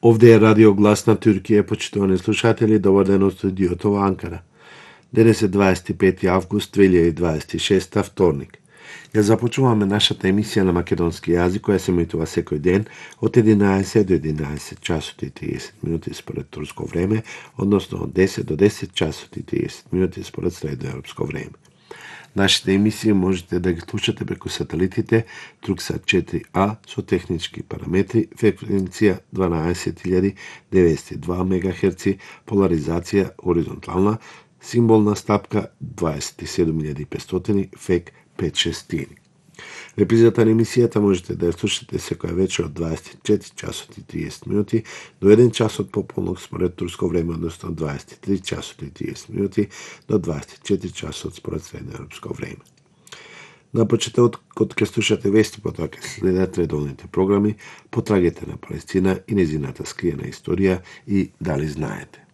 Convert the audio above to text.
Овде е Радио Глас на Туркија, почитувани слушатели, добар ден од студиото во Анкара. Денес е 25 август 2026, вторник. Ја започуваме нашата емисија на македонски јазик, која се емитува секој ден од 11 до 11 часот и 30 минути според турско време, односно од 10 до 10 часот и 30 минути според средноевропско време. Нашите емисии можете да ги слушате преку сателитите Турксат 4А со технички параметри, фреквенција 12902 МГц, поларизација оризонтална, символна стапка 27500 ФЕК 5/6. Репризата на емисијата можете да ја слушате секоја вечер од 24 часот и 30 минути до 1 часот пополнок според турско време, односно 23 часот и 30 минути до 24 часот според средноевропско време. На почетокот ќе слушате вести, потоа ќе следат редовните програми, потрагите на Палестина и незината скриена историја и дали знаете.